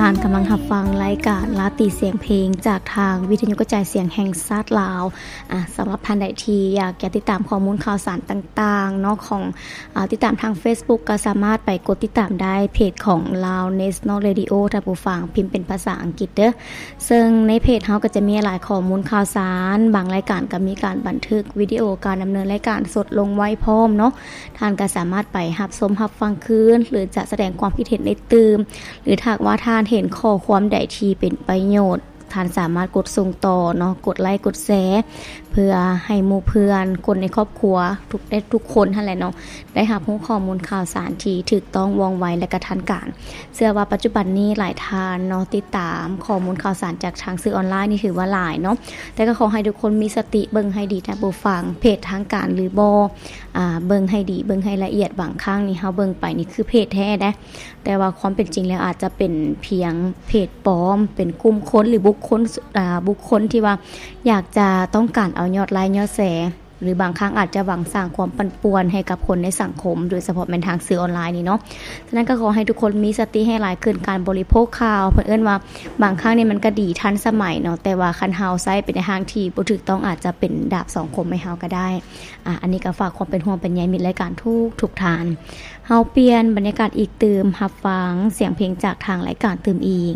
ທ່ານກຳລັງຮັບຟັງລາຍການລາຕີສຽງເພງ ຈາກທາງວິທະຍຸກະຈາຍສຽງແຫ່ງຊາດລາວ. ອາ ສຳລັບທ່ານໃດທີ່ຢາກຈະຕິດຕາມຂໍ້ມູນຂ່າວສານຕ່າງໆເນາະ ຂອງ ອາ ຕິດຕາມທາງເຟສບຸກ ກໍສາມາດໄປກົດຕິດຕາມໄດ້ ເພຈຂອງ Lao National Radio ທ່ານຜູ້ຟັງ ພິມເປັນພາສາອັງກິດເດີ້. ເຊິ່ງໃນເພຈເຮົາກໍຈະມີຫຼາຍຂໍ້ມູນຂ່າວສານ, ບາງລາຍການກໍມີການບັນທຶກວິດີໂອການດຳເນີນລາຍການສົດລົງໄວ້ພ້ອມເນາະ. ທ່ານກໍສາມາດໄປຮັບຊົມຮັບຟັງຄືນ ຫຼື ຈະສະແດງຄວາມຄິດເຫັນໄດ້ຕື່ມ ຫຼື ຖ້າຫາກວ່າທ່ານເຫັນຂໍ້ຄວາມໃດທີ່ເປັນປະໂຫຍດ ທ່ານສາມາດກົດສົ່ງຕໍ່ເນາະ, ກົດໄລກ໌ ກົດແຊ ເພື່ອໃຫ້ໝູ່ເພື່ອນ ຄົນໃນຄອບຄົວ ທຸກ ໄດ້ທຸກຄົນຫັ້ນແຫຼະເນາະ ໄດ້ຮັບຮູ້ຂໍ້ມູນຂ່າວສານທີ່ຖືກຕ້ອງ ວ່ອງໄວ ແລະ ກະທັນການ. ເຊື່ອວ່າປັດຈຸບັນນີ້ຫຼາຍທ່ານເນາະ ຕິດຕາມຂໍ້ມູນຂ່າວສານຈາກທາງສື່ອອນລາຍນີ້ຖືວ່າຫຼາຍເນາະ, ແຕ່ກໍຂໍໃຫ້ທຸກຄົນມີສະຕິເບິ່ງໃຫ້ດີທ່ານຜູ້ຟັງ, ເພຈທາງການຫຼືບໍ່ ອາ ເບິ່ງໃຫ້ດີ ເບິ່ງໃຫ້ລະອຽດ. ບາງຄັ້ງນີ້ເຮົາເບິ່ງໄປນີ້ຄືເພຈແທ້ເດ້ ແຕ່ວ່າຄວາມເປັນຈິງແລ້ວອາດຈະເປັນພຽງເພຈປອມ, ເປັນກຸ່ມຄົນ ຫຼື ບຸກຄົນ ອາ ບຸກຄົນທີ່ວ່າຢາກຈະຕ້ອງການເອົາຍອດໄລກ໌ ຍອດແຊ ຫຼື ບາງຄັ້ງອາດຈະຫວັງສ້າງຄວາມປັ່ນປ່ວນໃຫ້ກັບຄົນໃນສັງຄົມ, ໂດຍສະເພາະແມ່ນທາງສື່ອອນລາຍນີ້ເນາະ. ສະນັ້ນກໍຂໍໃຫ້ທຸກຄົນມີສະຕິໃຫ້ຫຼາຍຂຶ້ນ ການບໍລິໂພກຂ່າວ. ເພິ່ນເອີ້ນວ່າບາງຄັ້ງນີ້ມັນກໍດີທັນສະໄໝເນາະ, ແຕ່ວ່າຄັນເຮົາໃຊ້ໄປໃນທາງທີ່ບໍ່ຖືກຕ້ອງ ອາດຈະເປັນດາບສອງຄົມໃຫ້ເຮົາກໍໄດ້. ອາ ອັນນີ້ກໍຝາກຄວາມເປັນຫ່ວງເປັນໃຍມິດລາຍການທຸກໆທ່ານ. ເຮົາປ່ຽນບັນຍາກາດອີກຕື່ມ, ຮັບຟັງສຽງເພງຈາກທາງລາຍການຕື່ມອີກ.